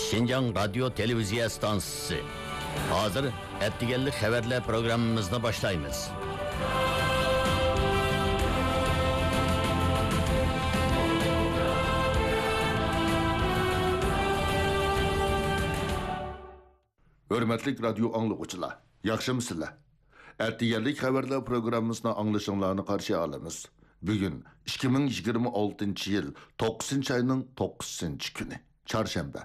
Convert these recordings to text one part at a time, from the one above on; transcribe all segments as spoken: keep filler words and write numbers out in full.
شىنجاڭ رادىيو تېلېۋىزىيە ئىستانسىسى. ھازىر ئەتىگەنلىك خەۋەرلەر پروگراممىمىزنى باشلايمىز. ھۆرمەتلىك رادىيو ئاڭلىغۇچىلار، ياخشىمۇسىلەر؟ ئەتىگەنلىك خەۋەرلەر پروگراممىسىنى ئاڭلىشىڭلارنى قارشى ئالىمىز. بۈگۈن ئىككى مىڭ يىگىرمە ئالتىنچى يىل توققۇزىنچى ئاينىڭ توققۇزىنچى كۈنى، چارشەنبە.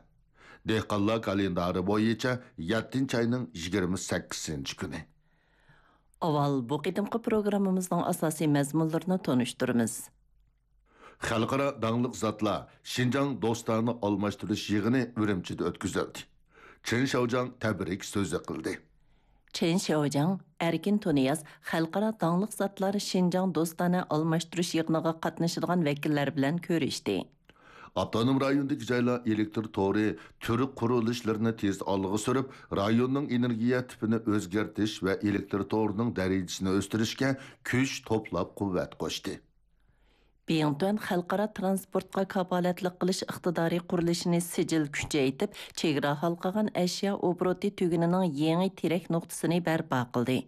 دېھقانلار كالېندارى بويىچە يەتتىنچى ئاينىڭ يىگىرمە سەككىزىنچى كۈنى. ئاۋۋال بۇ قېتىمقى پروگراممىمىزنىڭ ئاساسىي مەزمۇنلىرىنى تونۇشتۇرىمىز. خەلقئارا داڭلىق زاتلار شىنجاڭ دوستانە ئالماشتۇرۇش يىغىنى ئۈرۈمچىدە ئۆتكۈزۈلدى. چېن شياۋجياڭ تەبرىك سۆزى قىلدى. چېن شياۋجياڭ ئەركىن تۇنىياز خەلقئارا داڭلىق زاتلار شىنجاڭ دوستانە ئالماشتۇرۇش يىغىنىغا قاتنىشىدىغان ۋەكىللەر بىلەن كۆرۈشتى. ئاپتونوم رايوندىكى جايلار ئېلېكتر تورى تۈر قۇرۇلۇشلىرىنى تېز ئالغا سۈرۈپ، رايوننىڭ ئېنېرگىيە تىپىنى ئۆزگەرتىش ۋە ئېلېكتر تورىنىڭ دەرىجىسىنى ئۆستۈرۈشكە كۈچ توپلاپ قۇۋۋەت قوشتى. بىڭتۈەن خەلقئارا تىرانسپورتقا كاپالەتلىك قىلىش ئىقتىدارى قۇرۇلۇشىنى سىجىل كۈچەيتىپ، چېگرا ھالقىغان ئەشيا ئوبوروتى تۈگۈنىنىڭ يېڭى تىرەك نۇقتىسىنى بەرپا قىلدى.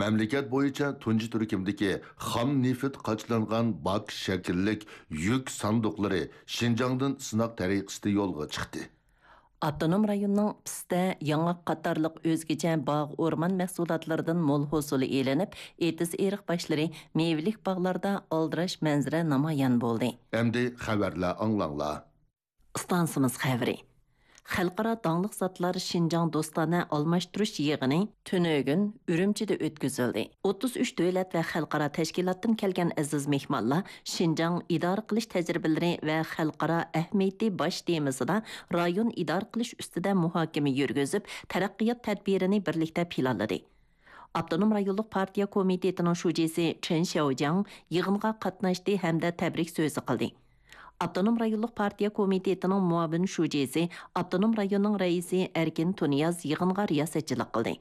مەملىكەت بويىچە تۇنجى تۈركۈمدىكى خام نېفىت قاچىلانغان باك شەكىللىك يۈك ساندۇقلىرى شىنجاڭدىن سىناق تەرىقىسىدە يولغا چىقتى. ئاپتونوم رايوننىڭ پىستە، ياڭاق قاتارلىق ئۆزگىچە باغ، ئورمان مەھسۇلاتلىرىدىن مول ھوسۇل ئېلىنىپ، ئېتىز-ئېرىق باشلىرى، مېۋىلىك باغلاردا ئالدىراش مەنزىرە نامايان بولدى. ئەمدى خەۋەرلەر ئاڭلاڭلار. ئىستانسىمىز خەۋىرى. خەلقئارا داڭلىق زاتلار شىنجاڭ دوستانە ئالماشتۇرۇش يىغىنى تۈنۈگۈن ئۈرۈمچىدە ئۆتكۈزۈلدى. ئوتتۇز ئۈچ دۆلەت ۋە خەلقئارا تەشكىلاتتىن كەلگەن ئەزىز مېھمانلار شىنجاڭ ئىدارە قىلىش تەجرىبىلىرى ۋە خەلقئارا ئەھمىيىتى باش تېمىسىدا رايون ئىدارە قىلىش ئۈستىدە مۇھاكىمە يۈرگۈزۈپ، تەرەققىيات تەدبىرىنى بىرلىكتە پىلانلىدى. ئاپتونوم رايونلۇق پارتىيە كومىتېتىنىڭ شۇجىسى چېن شياۋجياڭ يىغىنغا قاتناشتى ھەمدە تەبرىك سۆزى قىلدى. ئاپتونوم رايونلۇق پارتىيە كومىتېتىنىڭ مۇئاۋىن شۇجىسى، ئاپتونوم رايوننىڭ رەئىسى ئەركىن تۇنىياز يىغىنغا رىياسەتچىلىك قىلدى.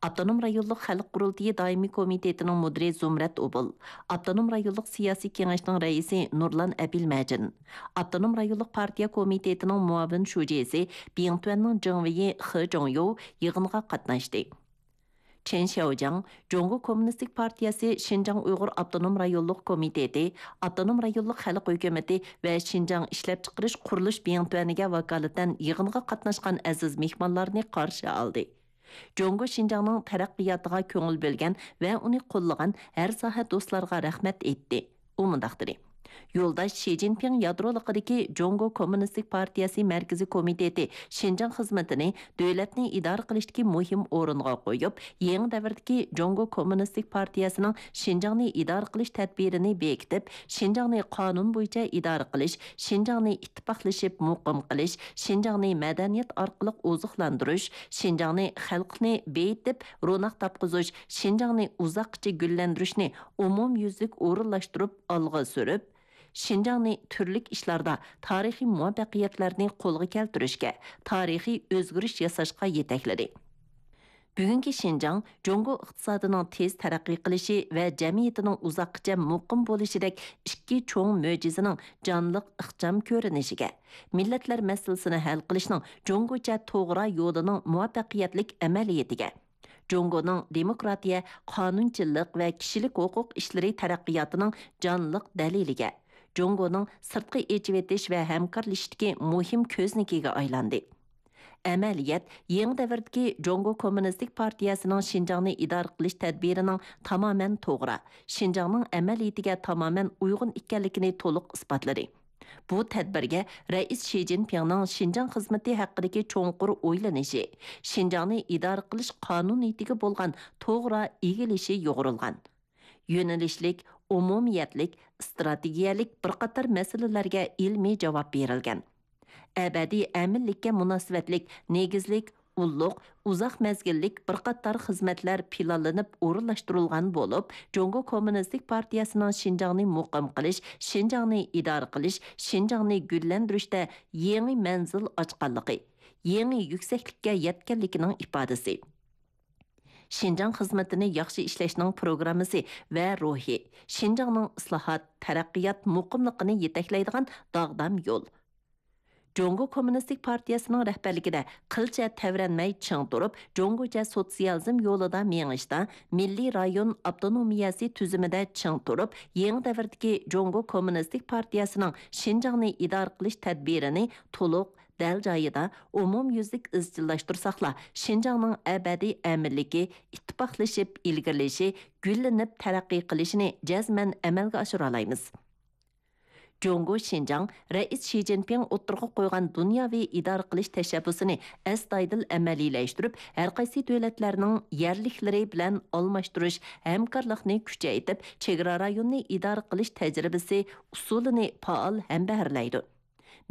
ئاپتونوم رايونلۇق خەلق قۇرۇلتىيى دائىمىي كومىتېتىنىڭ مۇدىرى زۇمرەت ئوبۇل، ئاپتونوم رايونلۇق سىياسىي كېڭەشنىڭ رەئىسى نۇرلان ئەپىلمەجىن، ئاپتونوم رايونلۇق پارتىيە كومىتېتىنىڭ مۇئاۋىن شۇجىسى، بىڭتۈەننىڭ جېڭۋېيى خې جوڭيو يىغىنغا قاتناشتى. چېن شياۋجياڭ جۇڭگو كوممۇنىستىك پارتىيەسى شىنجاڭ ئۇيغۇر ئاپتونوم رايونلۇق كومىتېتى، ئاپتونوم رايونلۇق خەلق ھۆكۈمىتى ۋە شىنجاڭ ئىشلەپچىقىرىش قۇرۇلۇش بىڭتۈەنىگە ۋاكالىتەن يىغىنغا قاتناشقان ئەزىز مېھمانلارنى قارشى ئالدى. جۇڭگو شىنجاڭنىڭ تەرەققىياتىغا كۆڭۈل بۆلگەن ۋە ئۇنى قوللىغان ھەر ساھە دوستلارغا رەھمەت ئېيتتى. ئۇ مۇنداق دېدى: يولداش شى جىنپىڭ يادرولۇقىدىكى جۇڭگو كوممۇنىستىك پارتىيەسى مەركىزىي كومىتېتى شىنجاڭ خىزمىتىنى دۆلەتنى ئىدارە قىلىشتىكى مۇھىم ئورۇنغا قويۇپ، يېڭى دەۋردىكى جۇڭگو كوممۇنىستىك پارتىيەسىنىڭ شىنجاڭنى ئىدارە قىلىش تەدبىرىنى بېكىتىپ، شىنجاڭنى قانۇن بويىچە ئىدارە قىلىش، شىنجاڭنى ئىتتىپاقلىشىپ مۇقىم قىلىش، شىنجاڭنى مەدەنىيەت ئارقىلىق ئوزۇقلاندۇرۇش، شىنجاڭنى خەلقنى بېيىتىپ روناق تاپقۇزۇش، شىنجاڭنى ئۇزاققىچە گۈللەندۈرۈشنى ئومۇميۈزلۈك ئورۇنلاشتۇرۇپ ئالغا سۈرۈپ، شىنجاڭنى تۈرلۈك ئىشلاردا تارىخىي مۇۋەپپەقىيەتلەرنى قولغا كەلتۈرۈشكە، تارىخىي ئۆزگىرىش ياساشقا يېتەكلىدى. بۈگۈنكى شىنجاڭ جۇڭگو ئىقتىسادىنىڭ تېز تەرەققىي قىلىشى ۋە جەمئىيىتىنىڭ ئۇزاققىچە مۇقىم بولۇشىدەك ئىككى چوڭ مۆجىزىنىڭ جانلىق ئىخچام كۆرۈنۈشىگە، مىللەتلەر مەسىلىسىنى ھەل قىلىشنىڭ جۇڭگوچە توغرا يولىنىڭ مۇۋەپپەقىيەتلىك ئەمەلىيىتىگە، جۇڭگونىڭ دېموكراتىيە، قانۇنچىلىق ۋە كىشىلىك ھوقۇق ئىشلىرى تەرەققىياتىنىڭ جانلىق دەلىلىگە، جۇڭگونىڭ سىرتقا ئېچىۋېتىش ۋە ھەمكارلىشىشتىكى مۇھىم كۆزنىكىگە ئايلاندى. ئەمەلىيەت يېڭى دەۋردىكى جۇڭگو كوممۇنىستىك پارتىيەسىنىڭ شىنجاڭنى ئىدارە قىلىش تەدبىرىنىڭ تامامەن توغرا، شىنجاڭنىڭ ئەمەلىيىتىگە تامامەن ئۇيغۇن ئىكەنلىكىنى تولۇق ئىسپاتلىدى. بۇ تەدبىرگە رەئىس شى جىنپىڭنىڭ شىنجاڭ خىزمىتى ھەققىدىكى چوڭقۇر ئويلىنىشى، شىنجاڭنى ئىدارە قىلىش قانۇنىيىتىگە بولغان توغرا ئىگىلىشى يۇغۇرۇلغان. يۆنىلىشلىك، ئومۇمىيەتلىك، ئىستراتېگىيەلىك بىر قاتار مەسىلىلەرگە ئىلمىي جاۋاب بېرىلگەن. ئەبەدىي ئەمىنلىككە مۇناسىۋەتلىك نېگىزلىك، ئۇللۇق، ئۇزاق مەزگىللىك بىر قاتار خىزمەتلەر پىلانلىنىپ ئورۇنلاشتۇرۇلغان بولۇپ، جۇڭگو كوممۇنىستىك پارتىيەسىنىڭ شىنجاڭنى مۇقىم قىلىش، شىنجاڭنى ئىدارە قىلىش، شىنجاڭنى گۈللەندۈرۈشتە يېڭى مەنزىل ئاچقانلىقى، يېڭى يۈكسەكلىككە يەتكەنلىكىنىڭ ئىپادىسى. شىنجاڭ خىزمىتىنى ياخشى ئىشلەشنىڭ پروگراممىسى ۋە روھى، شىنجاڭنىڭ ئىسلاھات، تەرەققىيات، مۇقىملىقىنى يېتەكلەيدىغان داغدام يول. جۇڭگو كوممۇنىستىك پارتىيەسىنىڭ رەھبەرلىكىدە قىلچە تەۋرەنمەي چىڭ تۇرۇپ، جۇڭگوچە سوتسىيالىزم يولىدا مېڭىشتا، مىللىي رايون ئاپتونومىيەسى تۈزۈمىدە چىڭ تۇرۇپ، يېڭى دەۋردىكى جۇڭگو كوممۇنىستىك پارتىيەسىنىڭ شىنجاڭنى ئىدارە قىلىش تەدبىرىنى تولۇق، دەل جايىدا، ئومۇميۈزلۈك ئىزچىللاشتۇرساقلا، شىنجاڭنىڭ ئەبەدىي ئەمىنلىكى، ئىتتىپاقلىشىپ ئىلگىرىلىشى، گۈللىنىپ تەرەققىي قىلىشىنى جەزمەن ئەمەلگە ئاشۇرالايمىز. جۇڭگو شىنجاڭ رەئىس شى جىنپىڭ ئوتتۇرىغا قويغان دۇنياۋى ئىدارە قىلىش تەشەببۇسىنى ئەستايىدىل ئەمەلىيلەشتۈرۈپ، ھەرقايسى دۆلەتلەرنىڭ يەرلىكلىرى بىلەن ئالماشتۇرۇش ھەمكارلىقنى كۈچەيتىپ، چېگرا رايوننى ئىدارە قىلىش تەجرىبىسى، ئۇسۇلىنى پائال ھەمبەھىرلەيدۇ.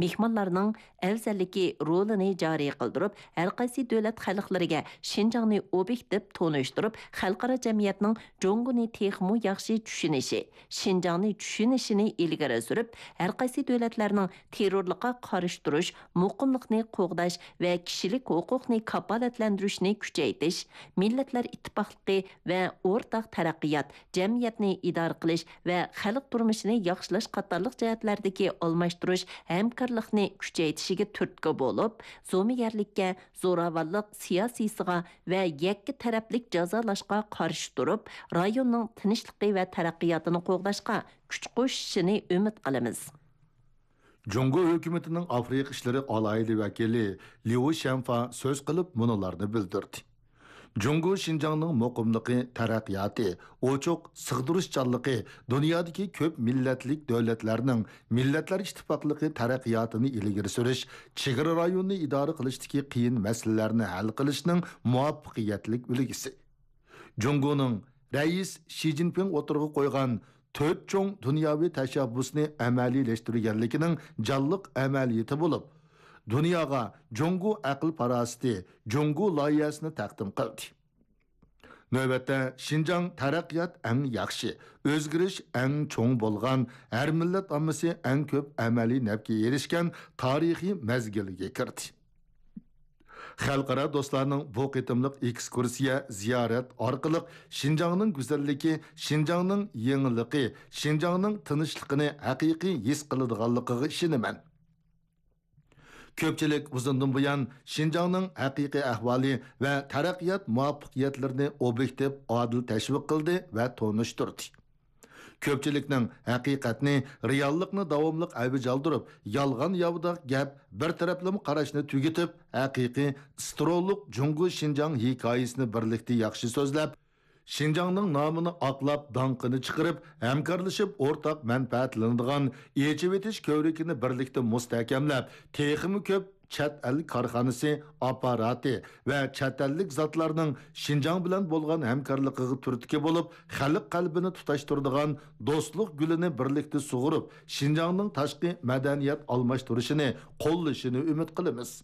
مېھمانلارنىڭ ئەۋزەللىكى رولىنى جارى قىلدۇرۇپ، ھەرقايسى دۆلەت خەلقلىرىگە شىنجاڭنى ئوبيېكتىپ تونۇشتۇرۇپ، خەلقئارا جەمئىيەتنىڭ جۇڭگونى تېخىمۇ ياخشى چۈشىنىشى، شىنجاڭنى چۈشىنىشىنى ئىلگىرى سۈرۈپ، ھەرقايسى دۆلەتلەرنىڭ تېررورلۇققا قارشى تۇرۇش، مۇقىملىقنى قوغداش ۋە كىشىلىك ھوقۇقنى كاپالەتلەندۈرۈشنى كۈچەيتىش، مىللەتلەر ئىتتىپاقلىقى ۋە ئورتاق تەرەققىيات، جەمئىيەتنى ئىدارە قىلىش ۋە خەلق تۇرمۇشىنى ياخشىلاش قاتارلىق جەھەتلەردىكى ئالماشتۇرۇش ھەمكارلىقنى كۈچەيتىشىگە تۈرتكە بولۇپ، زومىگەرلىككە، زوراۋانلىق سىياسىيسىغا ۋە يەككە تەرەپلىك جازالاشقا قارشى تۇرۇپ، رايوننىڭ تىنچلىقى ۋە تەرەققىياتىنى قوغداشقا كۈچ قوشۇشىنى ئۈمىد قىلىمىز. جۇڭگو ھۆكۈمىتىنىڭ ئافرىقا ئىشلىرى ئالاھىدە ۋەكىلى ليۇ شەنفا سۆز قىلىپ مۇنۇلارنى بىلدۈردى. جۇڭگو شىنجاڭنىڭ مۇقىملىقى، تەرەققىياتى، ئوچۇق، سىغدۇرۇشچانلىقى، دۇنيادىكى كۆپ مىللەتلىك دۆلەتلەرنىڭ مىللەتلەر ئىتتىپاقلىقى تەرەققىياتىنى ئىلگىرى سۈرۈش، چېگرا رايونىنى ئىدارە قىلىشتىكى قىيىن مەسىلىلەرنى ھەل قىلىشنىڭ مۇۋەپپەقىيەتلىك ئۈلگىسى. جۇڭگونىڭ رەئىس شى جىنپىڭ ئوتتۇرىغا قويغان تۆت چوڭ دۇنياۋى تەشەببۇسنى ئەمەلىيلەشتۈرگەنلىكىنىڭ جانلىق ئەمەلىيىتى بولۇپ، دۇنياغا جۇڭگو ئەقىل-پاراسىتى، جۇڭگو لايىھەسىنى تەقدىم قىلدى. نۆۋەتتە، شىنجاڭ تەرەققىيات ئەڭ ياخشى، ئۆزگىرىش ئەڭ چوڭ بولغان، ھەر مىللەت ئاممىسى ئەڭ كۆپ ئەمەلىي نەپكە ئېرىشكەن تارىخىي مەزگىلگە كىردى. خەلقئارا دوستلارنىڭ بۇ قېتىملىق ئېكسكۇرسىيە، زىيارەت ئارقىلىق شىنجاڭنىڭ گۈزەللىكى، شىنجاڭنىڭ يېڭىلىقى، شىنجاڭنىڭ تىنچلىقىنى ھەقىقىي ھېس قىلىدىغانلىقىغا ئىشىنىمەن. كۆپچىلىك ئۇزۇندىن بۇيان شىنجاڭنىڭ ھەقىقىي ئەھۋالى ۋە تەرەققىيات مۇۋەپپەقىيەتلىرىنى ئوبيېكتىپ، ئادىل تەشۋىق قىلدى ۋە تونۇشتۇردى. كۆپچىلىكنىڭ ھەقىقەتنى، رېئاللىقنى داۋاملىق ئەۋج ئالدۇرۇپ، يالغان-ياۋىداق گەپ، بىر تەرەپلىمە قاراشنى تۈگىتىپ، ھەقىقىي سترولۇق جۇڭگو شىنجاڭ ھېكايىسىنى بىرلىكتە ياخشى سۆزلەپ، شىنجاڭنىڭ نامىنى ئاقلاپ، داڭقىنى چىقىرىپ، ھەمكارلىشىپ ئورتاق مەنپەئەتلىنىدىغان ئېچىۋېتىش كۆۋرۈكىنى بىرلىكتە مۇستەھكەملەپ، تېخىمۇ كۆپ چەت ئەل كارخانىسى، ئاپپاراتى ۋە چەت ئەللىك زاتلارنىڭ شىنجاڭ بىلەن بولغان ھەمكارلىقىغا تۈرتكە بولۇپ، خەلق قەلبىنى تۇتاشتۇرىدىغان دوستلۇق گۈلىنى بىرلىكتە سۇغۇرۇپ، شىنجاڭنىڭ تاشقى مەدەنىيەت ئالماشتۇرۇشىنى قوللىشىنى ئۈمىد قىلىمىز.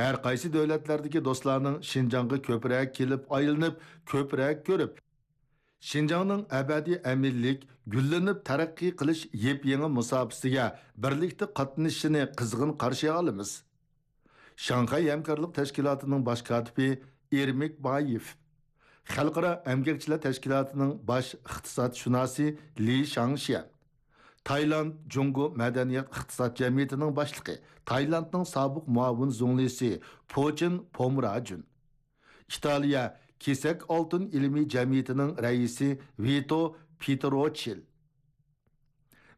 ھەر قايسى دۆلەتلەردىكى دوستلارنىڭ شىنجاڭغا كۆپرەك كېلىپ ئايلىنىپ، كۆپرەك كۆرۈپ، شىنجاڭنىڭ ئەبەدىي ئەمىنلىك، گۈللىنىپ تەرەققىي قىلىش يېپيېڭى مۇساپىسىگە بىرلىكتە قاتنىشىشىنى قىزغىن قارشى ئالىمىز. شاڭخەي ھەمكارلىق تەشكىلاتىنىڭ باش كاتىپى ئېرمىك بايېف، خەلقئارا ئەمگەكچىلەر تەشكىلاتىنىڭ باش ئىقتىسادشۇناسى لى شاڭشيەن، تايلاند جۇڭگو مەدەنىيەت ئىقتىساد جەمئىيىتىنىڭ باشلىقى، تايلاندنىڭ سابىق مۇئاۋىن زۇڭلىسى پوچىن پومراجۈن، ئىتالىيە كېسەك ئالتۇن ئىلمىي جەمئىيىتىنىڭ رەئىسى ۋىتو پېتروچىل،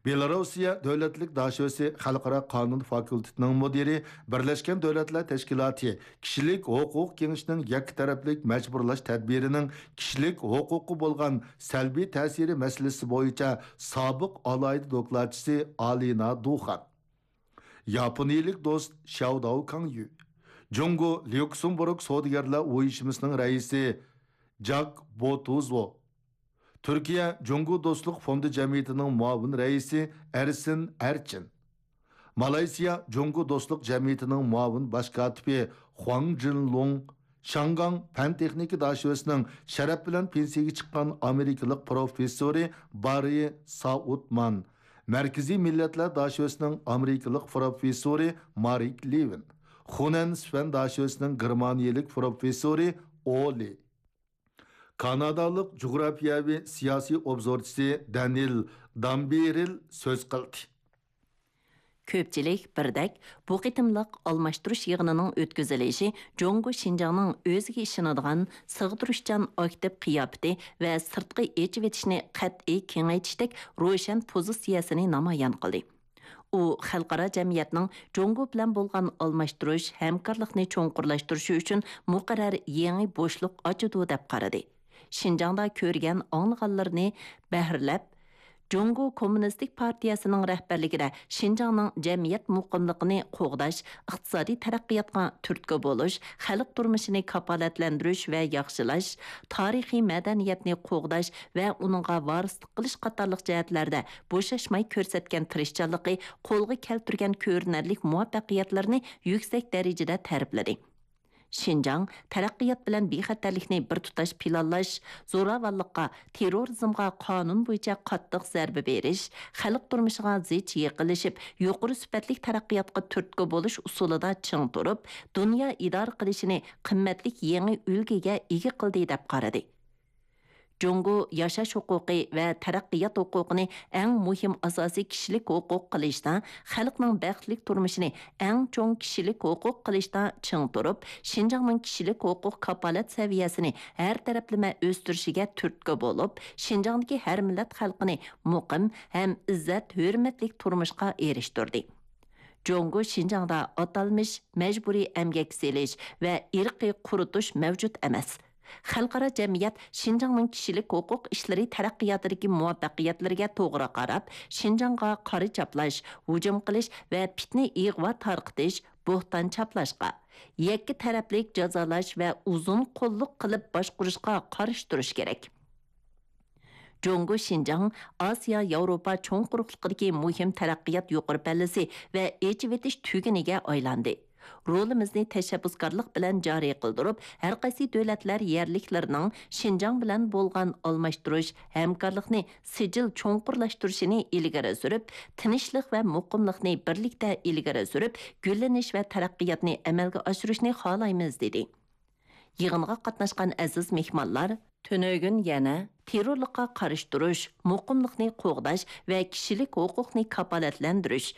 بېلاروسىيە دۆلەتلىك داشۆسى خەلقئارا قانۇن فاكۇلتېتىنىڭ مۇدىرى، بىرلەشكەن دۆلەتلەر تەشكىلاتى كىشىلىك ھوقۇق كېڭىشىنىڭ يەككە تەرەپلىك مەجبۇرلاش تەدبىرىنىڭ كىشىلىك ھوقۇققا بولغان سەلبىي تەسىرى مەسىلىسى بويىچە سابىق ئالاھىدە دوكلاتچىسى ئالىنا دۇخان، ياپونىيىلىك دوست شياۋداۋ كاڭيۈ، جۇڭگو ليۇكسېمبۇرگ سودىگەرلەر ئۇيۇشمىسىنىڭ رەئىسى جاك بوتۇزو، تۈركىيە جۇڭگو دوستلۇق فوندى جەمئىيىتىنىڭ مۇئاۋىن رەئىسى ئەرسىن ئەرچىن، مالايسىيا جۇڭگو دوستلۇق جەمئىيىتىنىڭ مۇئاۋىن باش كاتىپى خۇاڭ جىنلۇڭ، شاڭگاڭ پەن تېخنىكا داشۆسىنىڭ شەرەپ بىلەن پېنسىيىگە چىققان ئامېرىكىلىق پروفېسسورى باررى سائۇتمان، مەركىزىي مىللەتلەر داشۆسىنىڭ ئامېرىكىلىق پروفېسسورى مارك لېۋىن، خۇنەن سۈفەن داشۆسىنىڭ گېرمانىيىلىك پروفېسسورى ئولى، كانادالىق جۇغراپىيەۋى سىياسىي ئوبزورچىسى دەنىل دامبېرىل سۆز قىلدى. كۆپچىلىك بىردەك، بۇ قېتىملىق ئالماشتۇرۇش يىغىنىنىڭ ئۆتكۈزۈلۈشى جۇڭگو شىنجاڭنىڭ ئۆزىگە ئىشىنىدىغان، سىغدۇرۇشچان ئاكتىپ قىياپىتى ۋە سىرتقا ئېچىۋېتىشنى قەتئىي كېڭەيتىشتەك روشەن پوزىتسىيەسىنى نامايان قىلدى. ئۇ خەلقئارا جەمئىيەتنىڭ جۇڭگو بىلەن بولغان ئالماشتۇرۇش، ھەمكارلىقنى چوڭقۇرلاشتۇرۇشى ئۈچۈن مۇقەررەر يېڭى بوشلۇق ئاچىدۇ، دەپ قارىدى. شىنجاڭدا كۆرگەن، ئاڭلىغانلىرىنى بەھرىلەپ، جۇڭگو كوممۇنىستىك پارتىيەسىنىڭ رەھبەرلىكىدە شىنجاڭنىڭ جەمئىيەت مۇقىملىقىنى قوغداش، ئىقتىسادىي تەرەققىياتقا تۈرتكە بولۇش، خەلق تۇرمۇشىنى كاپالەتلەندۈرۈش ۋە ياخشىلاش، تارىخىي مەدەنىيەتنى قوغداش ۋە ئۇنىڭغا ۋارىسلىق قىلىش قاتارلىق جەھەتلەردە بوشاشماي كۆرسەتكەن تىرىشچانلىقى، قولغا كەلتۈرگەن كۆرۈنەرلىك مۇۋەپپەقىيەتلىرىنى يۈكسەك دەرىجىدە تەرىپلىدى. شىنجاڭ تەرەققىيات بىلەن بىخەتەرلىكنى بىر تۇتاش پىلانلاش، زوراۋانلىققا، تېررورىزمغا قانۇن بويىچە قاتتىق زەربە بېرىش، خەلق تۇرمۇشىغا زىچ يېقىنلىشىپ، يۇقىرى سۈپەتلىك تەرەققىياتقا تۈرتكە بولۇش ئۇسۇلىدا چىڭ تۇرۇپ، دۇنيا ئىدارە قىلىشىنى قىممەتلىك يېڭى ئۈلگىگە ئىگە قىلدى، دەپ قارىدى. جۇڭگو ياشاش ھوقۇقى ۋە تەرەققىيات ھوقۇقىنى ئەڭ مۇھىم ئاساسىي كىشىلىك ھوقۇق قىلىشتا، خەلقنىڭ بەختلىك تۇرمۇشىنى ئەڭ چوڭ كىشىلىك ھوقۇق قىلىشتا چىڭ تۇرۇپ، شىنجاڭنىڭ كىشىلىك ھوقۇق كاپالەت سەۋىيەسىنى ھەر تەرەپلىمە ئۆستۈرۈشىگە تۈرتكە بولۇپ، شىنجاڭدىكى ھەر مىللەت خەلقىنى مۇقىم ھەم ئىززەت، ھۆرمەتلىك تۇرمۇشقا ئېرىشتۈردى. جۇڭگو شىنجاڭدا ئاتالمىش مەجبۇرىي ئەمگەك سېلىش ۋە ئىرقىي قۇرۇتۇش مەۋجۇت ئەمەس. خەلقئارا جەمئىيەت شىنجاڭنىڭ كىشىلىك ھوقۇق ئىشلىرى تەرەققىياتىدىكى مۇۋەپپەقىيەتلىرىگە توغرا قاراپ، شىنجاڭغا قارا چاپلاش، ھۇجۇم قىلىش ۋە پىتنە، ئىغۋا تارقىتىش، بوھتان چاپلاشقا، يەككە تەرەپلىك جازالاش ۋە ئۇزۇن قوللۇق قىلىپ باشقۇرۇشقا قارشى تۇرۇش كېرەك. جۇڭگو شىنجاڭ ئاسىيا ياۋروپا چوڭ قۇرۇقلۇقىدىكى مۇھىم تەرەققىيات يۇقىرى پەللىسى ۋە ئېچىۋېتىش تۈگۈنىگە ئايلاندى. رولىمىزنى تەشەببۇسكارلىق بىلەن جارى قىلدۇرۇپ، ھەرقايسى دۆلەتلەر يەرلىكلىرىنىڭ شىنجاڭ بىلەن بولغان ئالماشتۇرۇش، ھەمكارلىقنى سىجىل چوڭقۇرلاشتۇرۇشىنى ئىلگىرى سۈرۈپ، تىنچلىق ۋە مۇقىملىقنى بىرلىكتە ئىلگىرى سۈرۈپ، گۈللىنىش ۋە تەرەققىياتنى ئەمەلگە ئاشۇرۇشنى خالايمىز، دېدى. يىغىنغا قاتناشقان ئەزىز مېھمانلار تۈنۈگۈن يەنە تېررورلۇققا قارشى تۇرۇش، مۇقىملىقنى قوغداش ۋە كىشىلىك ھوقۇقنى كاپالەتلەندۈرۈش،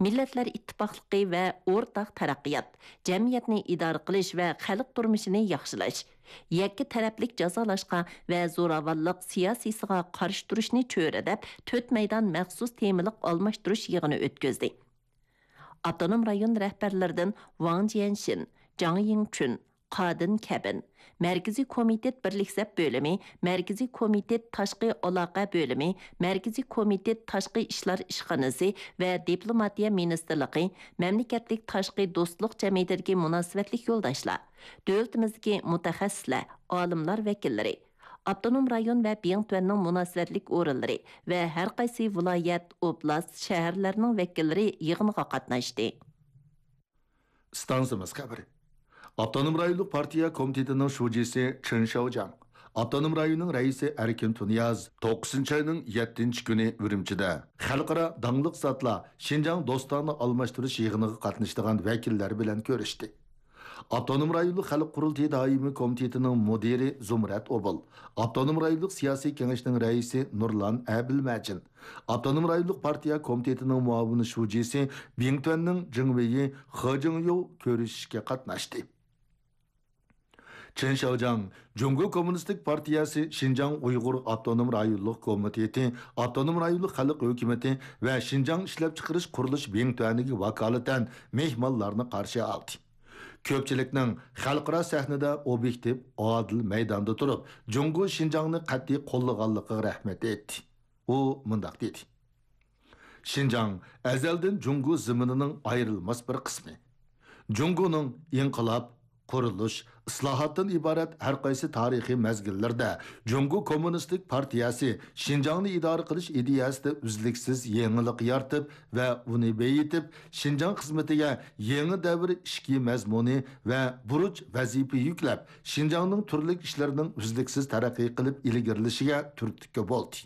مىللەتلەر ئىتتىپاقلىقى ۋە ئورتاق تەرەققىيات، جەمئىيەتنى ئىدارە قىلىش ۋە خەلق تۇرمۇشىنى ياخشىلاش، يەككە تەرەپلىك جازالاشقا ۋە زوراۋانلىق سىياسىيسىغا قارشى تۇرۇشنى چۆرىدەپ، تۆت مەيدان مەخسۇس تېمىلىق ئالماشتۇرۇش يىغىنى ئۆتكۈزدى. ئاپتونوم رايون رەھبەرلىرىدىن ۋاڭ جيەنشىن، جاڭ يىڭچۈن، قادىن كەبىن، مەركىزىي كومىتېت بىرلىك سەپ بۆلۈمى، مەركىزىي كومىتېت تاشقى ئالاقە بۆلۈمى، مەركىزىي كومىتېت تاشقى ئىشلار ئىشخانىسى ۋە دىپلوماتىيە مىنىستىرلىقى، مەملىكەتلىك تاشقى دوستلۇق جەمئىيىتىدىكى مۇناسىۋەتلىك يولداشلار، دۆلىتىمىزدىكى مۇتەخەسسىسلەر، ئالىملار ۋەكىللىرى، ئاپتونوم رايون ۋە بىڭتۈەننىڭ مۇناسىۋەتلىك ئورۇنلىرى ۋە ھەرقايسى ۋىلايەت، ئوبلاست، شەھەرلەرنىڭ ۋەكىللىرى يىغىنغا قاتناشتى. ئىستانسىمىز خەۋىرى. ئاپتونوم رايونلۇق پارتىيە كومىتېتىنىڭ شۇجىسى چېن شياۋجياڭ، ئاپتونوم رايوننىڭ رەئىسى ئەركىن تۇنىياز توققۇزىنچى ئاينىڭ يەتتىنچى كۈنى ئۈرۈمچىدە خەلقئارا داڭلىق زاتلار شىنجاڭ دوستانە ئالماشتۇرۇش يىغىنىغا قاتنىشىدىغان ۋەكىللەر بىلەن كۆرۈشتى. ئاپتونوم رايونلۇق خەلق قۇرۇلتىيى دائىمىي كومىتېتىنىڭ مۇدىرى زۇمرەت ئوبۇل، ئاپتونوم رايونلۇق سىياسىي كېڭەشنىڭ رەئىسى نۇرلان ئەبىلمەجىن، ئاپتونوم رايونلۇق پارتىيە كومىتېتىنىڭ مۇئاۋىن شۇجىسى بىڭتۈەننىڭ جېڭ ۋېيى خې جىڭيۇ كۆرۈشۈشكە قاتناشتى. چېن شياۋجياڭ جۇڭگو كوممۇنىستىك پارتىيەسى شىنجاڭ ئۇيغۇر ئاپتونوم رايونلۇق كومىتېتى، ئاپتونوم رايونلۇق خەلق ھۆكۈمىتى ۋە شىنجاڭ ئىشلەپچىقىرىش قۇرۇلۇش بىڭتۈەنىگە ۋاكالىتەن مېھمانلارنى قارشى ئالدى. كۆپچىلىكنىڭ خەلقئارا سەھنىدە ئوبيېكتىپ، ئادىل مەيداندا تۇرۇپ، جۇڭگو شىنجاڭنى قەتئىي قوللىغانلىقىغا رەھمەت ئېيتتى. ئۇ مۇنداق دېدى: شىنجاڭ ئەزەلدىن جۇڭگو زېمىنىنىڭ ئايرىلماس بىر قىسمى. جۇڭگونىڭ ئىنقىلاب، قۇرۇلۇش، ئىسلاھاتتىن ئىبارەت ھەر قايسى تارىخىي مەزگىللەردە جۇڭگو كوممۇنىستىك پارتىيەسى شىنجاڭنى ئىدارە قىلىش ئىدىيەسىدە ئۈزلۈكسىز يېڭىلىق يارىتىپ ۋە ئۇنى بېيىتىپ، شىنجاڭ خىزمىتىگە يېڭى دەۋر ئىچكى مەزمۇنى ۋە بۇرچ ۋەزىپە يۈكلەپ، شىنجاڭنىڭ تۈرلۈك ئىشلىرىنىڭ ئۈزلۈكسىز تەرەققىي قىلىپ ئىلگىرىلىشىگە تۈرتكە بولدى.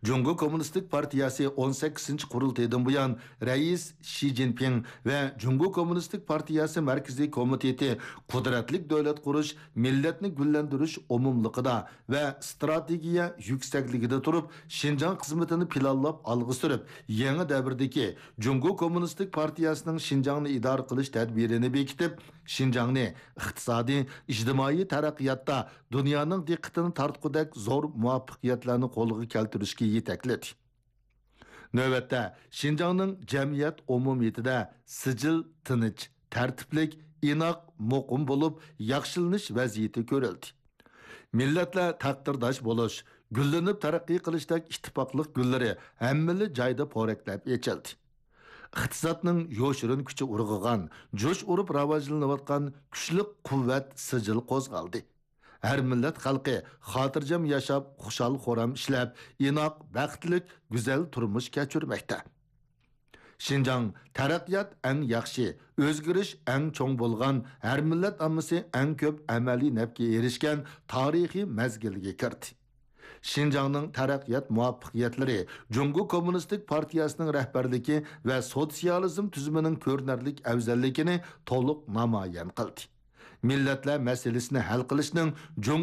جۇڭگو كوممۇنىستىك پارتىيەسى ئون سەككىزىنچى قۇرۇلتىيىدىن بۇيان، رەئىس شى جىنپىڭ ۋە جۇڭگو كوممۇنىستىك پارتىيەسى مەركىزىي كومىتېتى قۇدرەتلىك دۆلەت قۇرۇش، مىللەتنى گۈللەندۈرۈش ئومۇملۇقىدا ۋە ئىستراتېگىيە يۈكسەكلىكىدە تۇرۇپ، شىنجاڭ خىزمىتىنى پىلانلاپ ئالغا سۈرۈپ، يېڭى دەۋردىكى جۇڭگو كوممۇنىستىك پارتىيەسىنىڭ شىنجاڭنى ئىدارە قىلىش تەدبىرىنى بېكىتىپ، شىنجاڭنى ئىقتىسادىي، ئىجتىمائىي تەرەققىياتتا دۇنيانىڭ دىققىتىنى تارتقۇدەك زور مۇۋەپپەقىيەتلەرنى قولغا كەلتۈرۈشكە يېتەكلىدى. نۆۋەتتە، شىنجاڭنىڭ جەمئىيەت ئومۇمىيىتىدە سىجىل تىنچ، تەرتىپلىك، ئىناق، مۇقىم بولۇپ ياخشىلىنىش ۋەزىيىتى كۆرۈلدى. مىللەتلەر تەقدىرداش بولۇش، گۈللىنىپ تەرەققىي قىلىشتەك ئىتتىپاقلىق گۈللىرى ھەممىلا جايدا پورەكلەپ ئېچىلدى. ئىقتىسادنىڭ يوشۇرۇن كۈچى ئۇرغۇغان، جۇش ئۇرۇپ راۋاجلىنىۋاتقان كۈچلۈك قۇۋۋەت سىجىل قوزغالدى. ھەر مىللەت خەلقى خاتىرجەم ياشاپ، خۇشال-خۇرام ئىشلەپ، ئىناق، بەختلىك، گۈزەل تۇرمۇش كەچۈرمەكتە. شىنجاڭ تەرەققىيات ئەڭ ياخشى، ئۆزگىرىش ئەڭ چوڭ بولغان، ھەر مىللەت ئاممىسى ئەڭ كۆپ ئەمەلىي نەپكە ئېرىشكەن تارىخىي مەزگىلگە كىردى. شىنجاڭنىڭ تەرەققىيات مۇۋەپپەقىيەتلىرى جۇڭگو كوممۇنىستىك پارتىيەسىنىڭ رەھبەرلىكى ۋە سوتسىيالىزم تۈزۈمىنىڭ كۆرۈنەرلىك ئەۋزەللىكىنى تولۇق نامايان قىلدى. مىللەتلەر مەسىلىسىنى ھەل قىلىشنىڭ جۇڭگو